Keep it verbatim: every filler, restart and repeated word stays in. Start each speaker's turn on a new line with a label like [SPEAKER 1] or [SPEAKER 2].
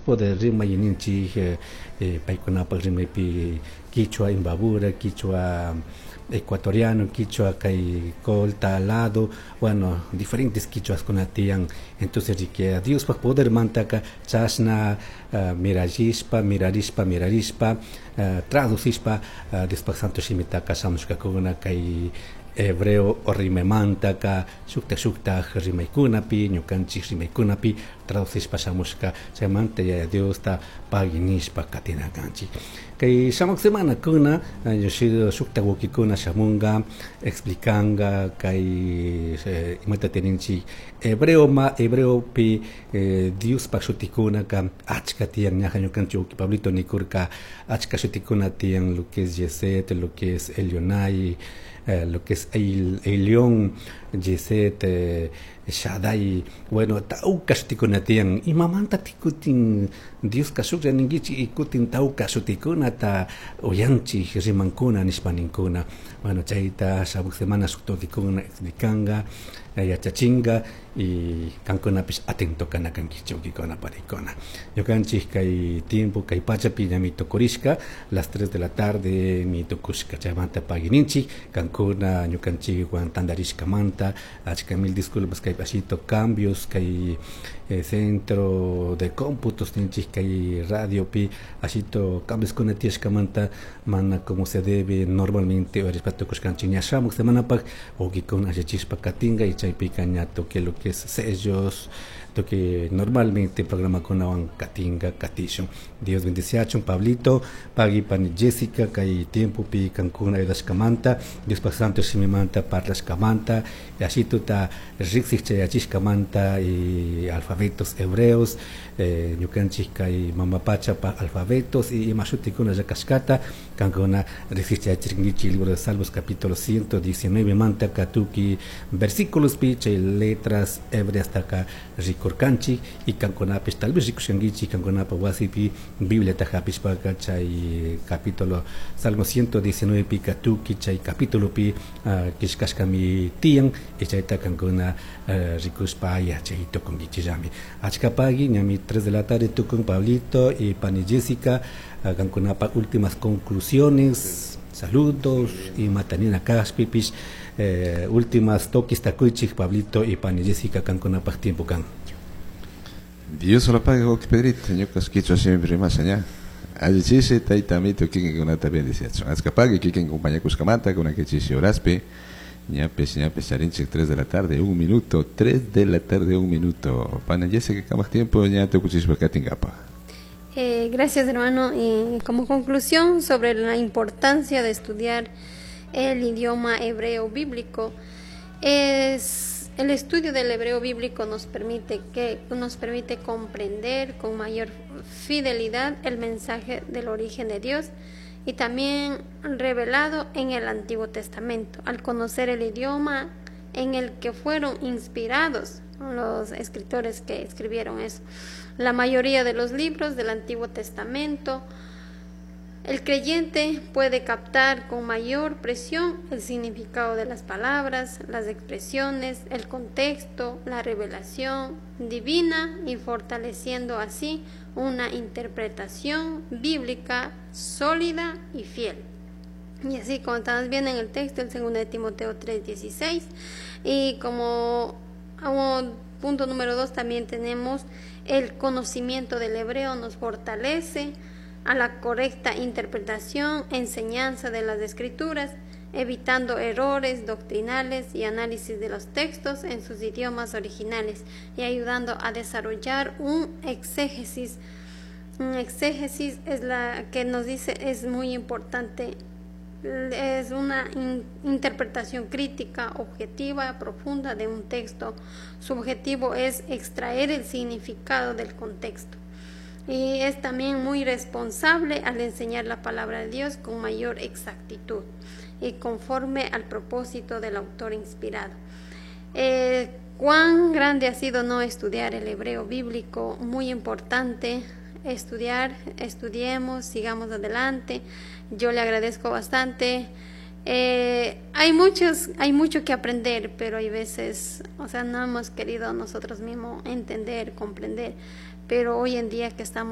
[SPEAKER 1] Poder rimay ninchik eh, eh, paykunapak rimaypi quichua Imbabura, quichua ecuatoriano, quichua kay Colta lado, bueno, diferentes quichuaskuna tiyan. Entonces riki Diospak podermantaka chashna uh, mirallishpa, mirarishpa, mirarishpa, uh, traducishpa uh, Diospak santo shimitaka shamushkakuna kay hebreo rimaymantaka shuktak shuktak rimaykunapi, ñukanchik rimaykunapi traducishpa shamushka. Chaymanta Yaya Diosta pagui nishpa katina kanchik. Kay shamuq semanakuna shuktak wawkikuna shamunga explicanga kay eh, imata tininchik hebreo ma hebreopi eh, Diospak shutikunaka achka tiyan. Ñaja ñukanchik wawki Pablito nikurka achka shutikuna tiyan, lo que es Yeset, lo que es Elionai, eh, lo que es El, Elión, Yeset, eh, Shaddai, bueno, tawka shutikuna tiyan. Imamanta kutin Dioska shuklla ninkichik y kutin tawka shutikunata uyanchik rimankuna nishpa ninkuna. Bueno, chayta shamuq semana shuk wawkikuna explicanga, yachachinga y kankunapish atento kana kankichik, wawkikuna panikuna. Ñukanchik kay tiempo kay pachapi ñami tukurishka, las tres de la tarde mi tukushka. Chaymanta paguininchik kankuna ñukanchikwan tantarishkamanta. Achka mil disculpas kay pasito cambios kay eh, centro de cómputos ninchik kay radiopi ashito cambios kuna tiyashkamanta mana como se debe normalmente uyarishpa tukushkanchik. Ña shamuq semanapak wawkikuna allichishpa katinga y chaypika ña toque lo que es sellos, toque normalmente programakunawan katinga katishun. Dios bendiciachun Pablito, pagui pani Jessica kay tiempopi kankuna ayudashkamanta, Diospak santo shimimanta parlashkamanta, ashituta riksik chayachishkamanta y alfabetos hebreos, eh, ñukanchik kay mama pachapa alfabetos y ima shutikuna llakashkata kankuna riksik chayachirkankichik. Libro de Salmos capítulo ciento diecinueve manta katuki versículos pi chay letras hebreas taka rikurkanchik y kankunapish tal vez rikushkankichik kankunapa wasipi Bibliata hapishpaka chay capítulo Salmo ciento diecinueve pi katuki chay capítulo pi uh, killkashkami tiyan y chayta kankuna uh, rikushpa yachay tukunkichillami. Achka pagui, ñami tres de la tarde tukun. Pablito y pani Jessica, uh, kankunapa últimas conclusiones, saludos y matanina kashpipish eh, últimas toques takuychik. Pablito y pani Jessica, kankunapaq tiempo kan.
[SPEAKER 2] Dios lo pague, wawki Pedrito, ñukas quichua shimipi rimasha ña. Alli chishi, tayta amito kikinkunata bendiciachun. Achka pagui kikin compañakushkamanta, kunanka chishi horaspi. Ñapis, ñapis, charinchik tres de la tarde, un minuto, tres de la tarde, un minuto. Pana Jessica, kamak tiempo, ña tukuchishpa katinkapa.
[SPEAKER 3] Eh, gracias, hermano. Y como conclusión sobre la importancia de estudiar el idioma hebreo bíblico, es el estudio del hebreo bíblico nos permite que nos permite comprender con mayor fidelidad el mensaje del origen de Dios y también revelado en el Antiguo Testamento. Al conocer el idioma en el que fueron inspirados los escritores que escribieron eso, la mayoría de los libros del Antiguo Testamento, el creyente puede captar con mayor presión el significado de las palabras, las expresiones, el contexto, la revelación divina y fortaleciendo así una interpretación bíblica sólida y fiel. Y así como estamos viendo en el texto, el segundo de Timoteo tres dieciséis. Y como, como punto número dos también tenemos el conocimiento del hebreo nos fortalece a la correcta interpretación, enseñanza de las escrituras, evitando errores doctrinales y análisis de los textos en sus idiomas originales y ayudando a desarrollar un exégesis. Un exégesis es la que nos dice es muy importante, es una in interpretación crítica, objetiva, profunda de un texto. Su objetivo es extraer el significado del contexto. Y es también muy responsable al enseñar la palabra de Dios con mayor exactitud y conforme al propósito del autor inspirado. Eh, cuán grande ha sido no estudiar el hebreo bíblico, muy importante estudiar, estudiemos, sigamos adelante. Yo le agradezco bastante. Eh, hay muchos, hay mucho que aprender, pero hay veces, o sea, no hemos querido nosotros mismos entender, comprender. Pero hoy en día que estamos